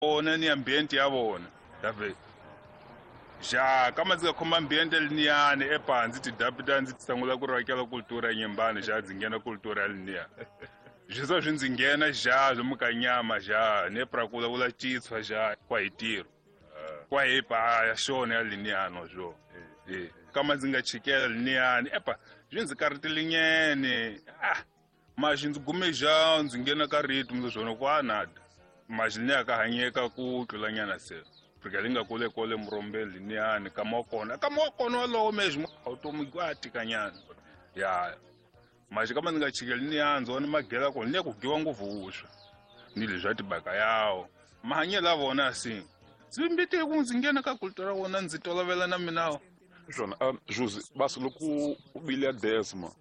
Vona ni ambiente ya vona dave ja kama ndzi nga khoma ambiente liniyani epa ndzi tidapita ndzi sungula ku rakela kultura ya Nyembani ja ndzi nghena kultura ya liniya swi swa swi ndzi nghena ja lomu ka nyama ja ne pra ku vulavula Xitswa ja kwa hi tirho kwa hi pa ya xona ya liniyano swo e kama ndzi nga chikela liniyani epa swi ndzi karhatelinyene ah maxi ndzi gume ja ndzi nghena ka rito ndzi swona ku anada maxi ni ya ka hanyeka ku tlulanyana se fika li nga kule kole murombeni liniyani kama wa kona kama wa kona walowo mexi vutomi a tikanyana ya maxi kama ndzi nga chikeli ni ndzi vona magela kona ni ya ku giwa ngopfu vuswa ni leswi ya tibaka yawo mahanyelo ya vona si ndzi mbitile ku ndzi nghena ka kultura wona ndzi tolovela na mina. Swona Jose basi loko u bile ya desma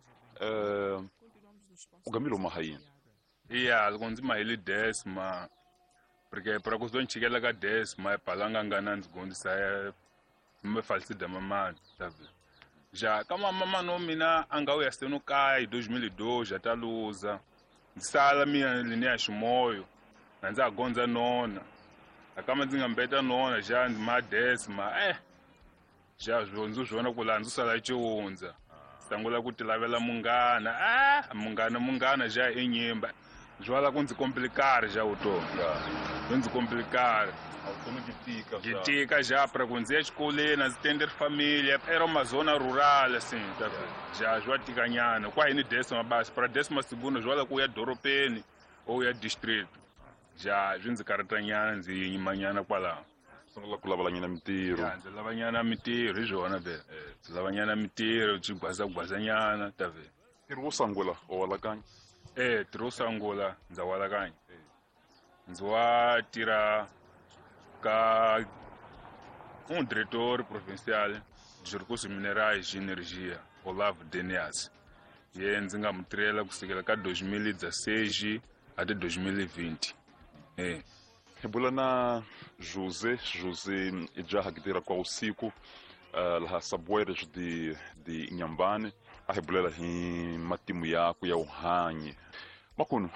u gamile u maha yini? Iya loko ndzi mahile desma porque pra ku ni chikela ka desma palanga ngana ndzi gondzisa me falsida mamani sabe ja kama mamani wa mina a nga vuya seno kaya hi 2002 ja ta luza ndzi sala mina lini ya ximoyo na ndza ha gondza nona akama ndzi nga mbeta nona ja ndzi ma desma ja ndzi swi vona ku laha ndzi sala ciwundza sangula ku ti lavela munghana munghana munghana ja i nyimba swi wala ku ndzi komplikari ja vutomi swi ndzi komplikari byi tika ja pra ku ndzi ya xikolweni a ndzi tenderi familia era uma zona rural assim ja swi wa tikanyana kwa hini desima basi pra desima segundo swi wala ku ya doropeni ou ya district ja swi ndzi karhatanyana ndzi yimanyana kwalaho. Sungula ku lavalanyana mintirho. Ya ndzi lavanyana mintirho hi swona vele ndzi lavanyana mintirho byi gwazagwazanyana ta vele. Ntirho wo sungula wa walakanya? Ntirho wo sungula ndza walakanya ndzi wa tirha ka um diretor provincial de recursos minerais e energia Olavo Denias ye ndzi nga mu tirhela kusukela ka 2016 ate 2020. Hi bula na Jose Jose i jaha ki tirha kwa usiku laha Saboeres de Inhambane a hi bulela hi matimu yakwe ya vuhanyi makunu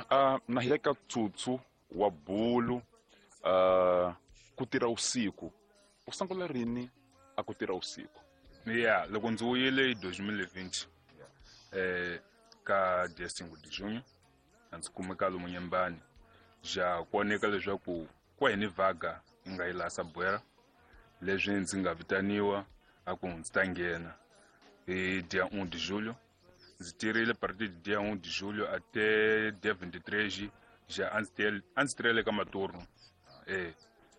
na hi le ka tsutsu wa bulu ku tirha usiku u sungula rini a ku tirha usiku? Ya loko ndzi wuyile hi 2020 ka dia 5 de junho a ndzi kumeka lomu Nyembani ja ku oneka leswaku kwa hini vaga yi nga yi laha Sabuera leswi ndzi nga vitaniwa a ku ndzi ta nghena hi dia 1 de julho ndzi tirhile partir de dia 1 de julho até dia 23 ja a ndzi tirhele ka maturno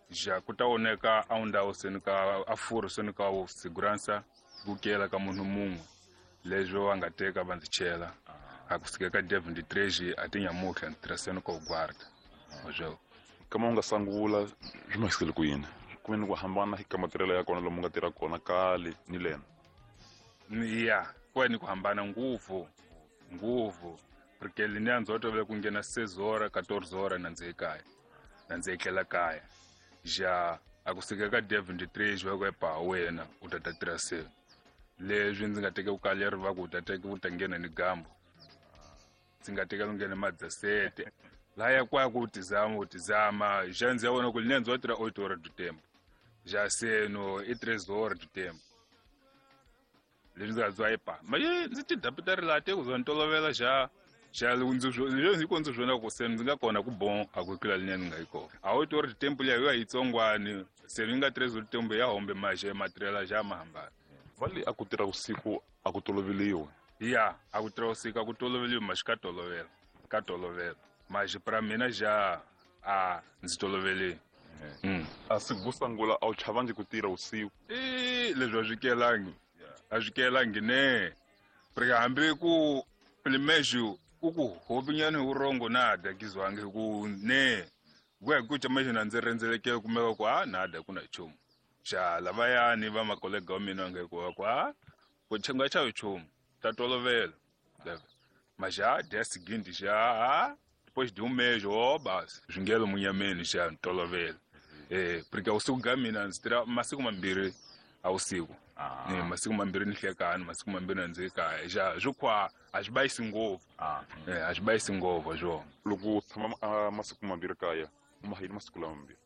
ja ku ta oneka a ndhawu seni ka a furhu seni ka segurança ku kela ka munhu mun'we leswi va nga teka va ndzi chela a kusuka ka dia 23 a ti nyamutlha ndzi tirha seni ka guarda oswo. Kama u nga sungula swi mahisele ku yini ku ni ku hambana ka matirhelo ya kona lomu nga tirha kona kale ni lena? Ya ku ni ku hambana ngopfu ngopfu porque liniya ndzi tolovela ku nghena 6 horas 14 horas na ndzi ekaya na ndzi etlela kaya ja a kusuka ka dia 23 va ku epa wena u ta ta tirha se leswi ndzi nga teka ku kaleri va ku u ta teka u ta nghena ni gambo ndzi nga teka ku nghena madzasete laya kwa ku tizama u tizama ja ndzi ya vona ku liniya ndzi wa tirha 8 horas do tempo ja seno i 3 horas do tempo leswi ndzi nga byiwa epa maye ndzi ti dapita ri laha te ku za ni tolovela ja ja ndzi ku ndzi swona ku se ndzi nga kona ku bon a ku tlula liniya ni nga yi kona a wu tori tempo liya yo yitsongwani se ni nga 3 horas tempo ya hombe maxe matirhela ja ma hambana. Va le a ku tirha vusiku a ku toloveliwi? Ya a ku tirha vusiku a ku toloveliwi maxi ka tolovela ka tolovela maxi pra mina ja a ndzi toloveli. A siku vo sungula a wu chavangi ku tirha vusiku? Leswi a swi kelangi a swi kelangi ne porque hambi ku limexu u ku hopinyana hi vurhongo nada kizwangi hi ku ne ku ya hi ku ca na ndzi rhendzelekele kumeka ku a nada ku na nchumu ja lavayani va makolega wa mina nga ku ku a ku nga chavi nchumu ta tolovela mas já dia seguinte já depois de um mês basi swi ngelo munyameni xa tolovela porque usiku ka mina ndzi tirha masiku mambirhi a usiku masiku mambirhi ni hlekani masiku mambirhi na ndzi kaya ja swi khwa a swi bayisi ngopfu a swi bayisi ngopfu swona. Loko u tshama masiku mambirhi kaya u ma yini masiku lama mambirhi?